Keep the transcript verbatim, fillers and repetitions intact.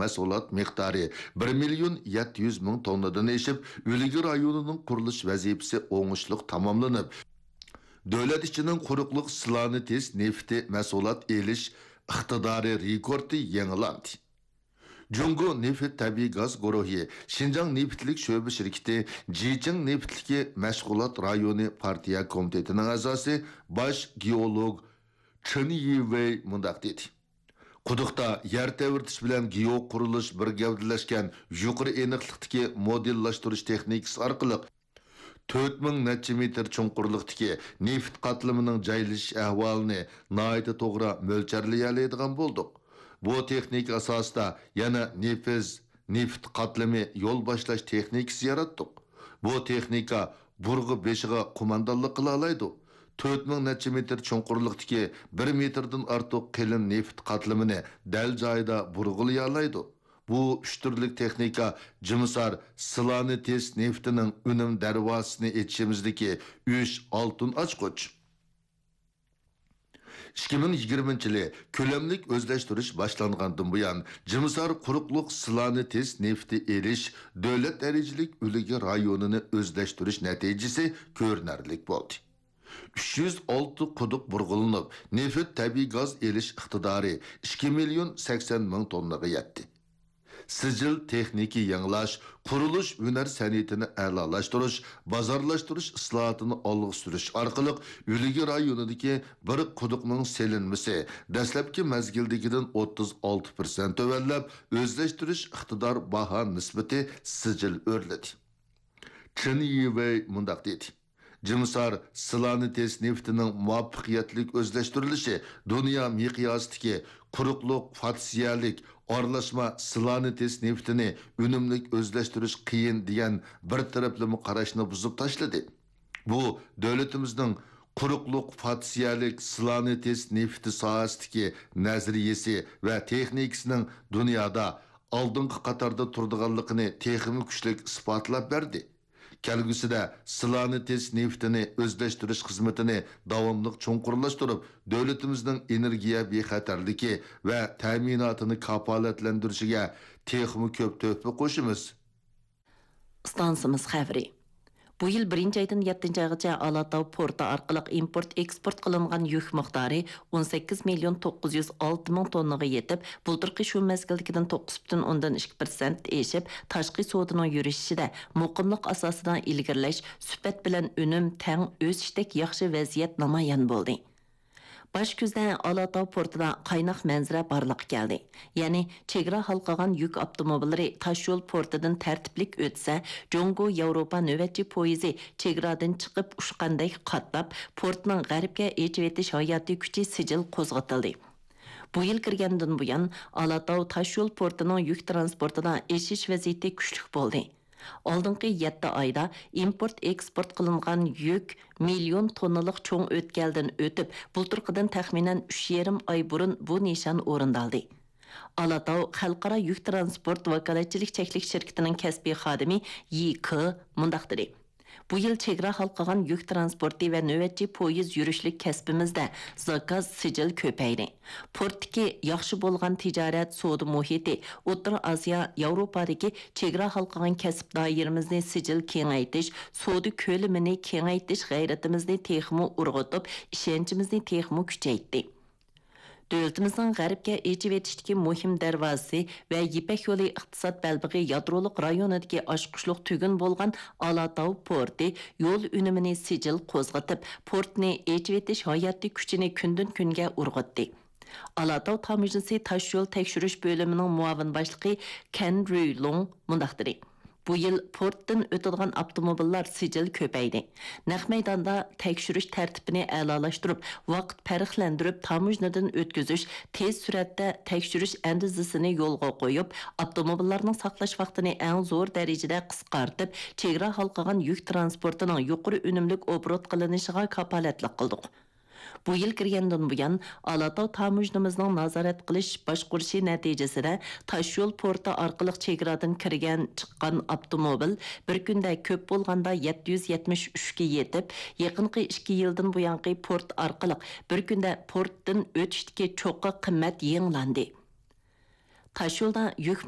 مەھسۇلات مىقدارى بىر مىليون يەتتە يۈز مىڭ توننىدىن ئېشىپ، ئۈلگە رايونىنىڭ قۇرۇلۇش ۋەزىپىسى ئوڭۇشلۇق تاماملىنىپ، دۆلەت ئىچىنىڭ قۇرۇقلۇق سىلانېتس نېفىتى مەھسۇلات ئېلىش ئىقتىدارى رېكورتى يېڭىلاندى. جۇڭگو نېفىت تەبىئىي گاز گۇرۇھى شىنجاڭ نېفىتلىك شۆبە شىركىتى جىچىڭ نېفىتلىكى مەشغۇلات رايونى پارتىيە كومىتېتىنىڭ ئەزاسى، باش گېئولوگ چېن يىۋېي مۇنداق دېدى: قۇدۇقتا يەر تەۋرىتىش بىلەن گېئو قۇرۇلۇش بىر گەۋدىلەشكەن يۇقىرى ئېنىقلىقتىكى مودېللاشتۇرۇش تېخنىكىسى ئارقىلىق تۆت مىڭ نەچچە مېتىر چوڭقۇرلۇقتىكى نېفىت قاتلىمىنىڭ جايلىشىش ئەھۋالىنى ناھايىتى توغرا مۆلچەرلىيەلەيدىغان بولدۇق. بۇ تېخنىكا ئاساسىدا يەنە نېفىز نېفىت قاتلىمى يول باشلاش تېخنىكىسى ياراتتۇق. بۇ تېخنىكا بۇرغا بېشىغا قوماندانلىق قىلالايدۇ. تۆت مىڭ نەچچە مېتىر چوڭقۇرلۇقتىكى بىر مېتىردىن ئارتۇق قېلىن نېفىت قاتلىمىنى دەل جايىدا بۇرغىلىيالايدۇ. بۇ ئۈچ تۈرلۈك تېخنىكا جىمىسار سىلانېتس نېفىتىنىڭ ئۈنۈم دەرۋازىسىنى ئېچىشىمىزدىكى ئۈچ ئالتۇن ئاچقۇچ. ئىككى مىڭ يىگىرمىنچى يىلى كۆلەملىك ئۆزلەشتۈرۈش باشلانغاندىن بۇيان، جىمىسار قۇرۇقلۇق سىلانېتس نېفىتى ئېلىش دۆلەت دەرىجىلىك ئۈلگە رايونىنى ئۆزلەشتۈرۈش نەتىجىسى كۆرۈنەرلىك بولدى. ئۈچ يۈز ئالتە قۇدۇق بۇرغىلىنىپ، نېفىت تەبىئىي گاز ئېلىش ئىقتىدارى ئىككى مىليون سەكسەن مىڭ توننىغا يەتتى. سىجىل تېخنىكا يېڭىلاش، قۇرۇلۇش ھۈنەر سەنئىتىنى ئەلالاشتۇرۇش، بازارلاشتۇرۇش ئىسلاھاتىنى ئالغا سۈرۈش ئارقىلىق ئۈلگە رايونىدىكى بىر قۇدۇقنىڭ سېلىنمىسى دەسلەپكى مەزگىلدىكىدىن ئوتتۇز ئالتە پىرسەنت تۆۋەنلەپ، ئۆزلەشتۈرۈش ئىقتىدار باھا نىسبىتى سىجىل ئۆرلىدى. چېن يىۋېي مۇنداق دېدى: جىمىسار سىلانېتس نېفىتىنىڭ مۇۋەپپەقىيەتلىك ئۆزلەشتۈرۈلۈشى دۇنيا مىقياسىدىكى قۇرۇقلۇق فاتسىيەلىك ئارىلاشما سىلانېتس نېفىتىنى ئۈنۈملۈك ئۆزلەشتۈرۈش قىيىن دېگەن بىر تەرەپلىمە قاراشنى بۇزۇپ تاشلىدى. بۇ دۆلىتىمىزنىڭ قۇرۇقلۇق فاتسىيەلىك سىلانېتس نېفىتى ساھەسىدىكى نەزەرىيىسى ۋە تېخنىكىسىنىڭ دۇنيادا ئالدىنقى قاتاردا تۇرىدىغانلىقىنى تېخىمۇ كۈچلۈك ئىسپاتلاپ بەردى. كەلگۈسىدە سىلانېتس نېفىتىنى ئۆزلەشتۈرۈش خىزمىتىنى داۋاملىق چوڭقۇرلاشتۇرۇپ، دۆلىتىمىزنىڭ ئېنېرگىيە بىخەتەرلىكى ۋە تەمىناتىنى كاپالەتلەندۈرۈشىگە تېخىمۇ كۆپ تۆھپە قوشىمىز. ئىستانسىمىز خەۋىرى. بۇ يىل بىرىنچى ئايدىن يەتتىنچى ئايغىچە ئالاتاۋ پورتى ئارقىلىق ئىمپورت ئېكسپورت قىلىنغان يۈك مىقدارى ئون سەككىز مىليون توققۇز يۈز ئالتە مىڭ توننىغا يېتىپ، بۇلتۇرقى شۇ مەزگىلدىكىدىن توققۇز پۈتۈن ئوندىن ئىككى پىرسەنت ئېشىپ، تاشقى سودىنىڭ يۈرۈشۈشىدە مۇقىملىق ئاساسىدا ئىلگىرىلەش، سۈپەت بىلەن ئۈنۈم تەڭ ئۆسۈشتەك ياخشى ۋەزىيەت نامايان بولدى. باش كۈزدە ئالاتاۋ پورتىدا قايناق مەنزىرە بارلىققا كەلدى. يەنى چېگرا ھالقىغان يۈك ئاپتوموبىللىرى تاشيول پورتىدىن تەرتىپلىك ئۆتسە، جۇڭگو ياۋروپا نۆۋەتچى پويىزى چېگرادىن چىقىپ ئۇچقاندەك قاتناپ، پورتنىڭ غەربكە ئېچىۋېتىش ھاياتىي كۈچى سىجىل قوزغىتىلدى. بۇ يىل كىرگەندىن بۇيان، ئالاتاۋ تاشيول پورتىنىڭ يۈك تىرانسپورتىدا ئېشىش ۋەزىيىتى كۈچلۈك بولدى. ئالدىنقى يەتتە ئايدا ئىمپورت ئېكسپورت قىلىنغان يۈك مىليون توننىلىق چوڭ ئۆتكەلدىن ئۆتۈپ، بۇلتۇرقىدىن تەخمىنەن ئۈچ يېرىم ئاي بۇرۇن بۇ نىشان ئورۇندالدى. ئالاتاۋ خەلقئارا يۈك تىرانسپورت ۋاكالەتچىلىك چەكلىك شىركىتىنىڭ كەسپىي خادىمى يى كې مۇنداق دېدى: بۇ يىل چېگرا ھالقىغان يۈك تىرانسپورتى ۋە نۆۋەتچى پويىز يۈرۈشلۈك كەسپىمىزدە زاكاز سىجىل كۆپەيدى. پورتتىكى ياخشى بولغان تىجارەت، سودا مۇھىتى، ئوتتۇرا ئاسىيا، ياۋروپادىكى چېگرا ھالقىغان كەسىپ دائىرىمىزنى سىجىل كېڭەيتىش، سودا كۆلىمىنى كېڭەيتىش غەيرىتىمىزنى تېخىمۇ ئۇرغۇتۇپ، ئىشەنچىمىزنى تېخىمۇ كۈچەيتتى. دۆلىتىمىزنىڭ غەربكە ئېچىۋېتىشتىكى مۇھىم دەرۋازىسى ۋە يىپەك يولى ئىقتىساد بەلبېغى يادرولۇق رايونىدىكى ئاچقۇچلۇق تۈگۈن بولغان ئالاتاۋ پورتى يول ئۈنۈمىنى سىجىل قوزغىتىپ، پورتنى ئېچىۋېتىش ھاياتىي كۈچىنى كۈندىن-كۈنگە ئۇرغۇتتى. ئالاتاۋ تاموژنىسى تاشيول تەكشۈرۈش بۆلۈمىنىڭ مۇئاۋىن باشلىقى كەن رۈيلۇڭ مۇنداق دېدى: بۇ يىل پورتتىن ئۆتىدىغان ئاپتوموبىللار سىجىل كۆپەيدى. نەق مەيداندا تەكشۈرۈش تەرتىپىنى ئەلالاشتۇرۇپ، ۋاقىت پەرقلەندۈرۈپ تاموژنىدىن ئۆتكۈزۈش، تېز سۈرئەتتە تەكشۈرۈش ئەندىزىسىنى يولغا قويۇپ، ئاپتوموبىللارنىڭ ساقلاش ۋاقتىنى ئەڭ زور دەرىجىدە قىسقارتىپ، چېگرا ھالقىغان يۈك تىرانسپورتىنىڭ يۇقىرى ئۈنۈملۈك ئوبوروت قىلىنىشىغا كاپالەتلىك قىلدۇق. بۇ يىل كىرگەندىن بۇيان، ئالاتاۋ تاموژنىمىزنىڭ نازارەت قىلىش، باشقۇرۇشى نەتىجىسىدە، تاشيول پورتى ئارقىلىق چېگرادىن كىرگەن، چىققان ئاپتوموبىل بىر كۈندە كۆپ بولغاندا يەتتە يۈز يەتمىش ئۈچكە يېتىپ، يېقىنقى ئىككى يىلدىن بۇيانقى پورت ئارقىلىق بىر كۈندە پورتتىن ئۆتۈشتىكى چوققا قىممەت يېڭىلاندى. تاشيولدا يۈك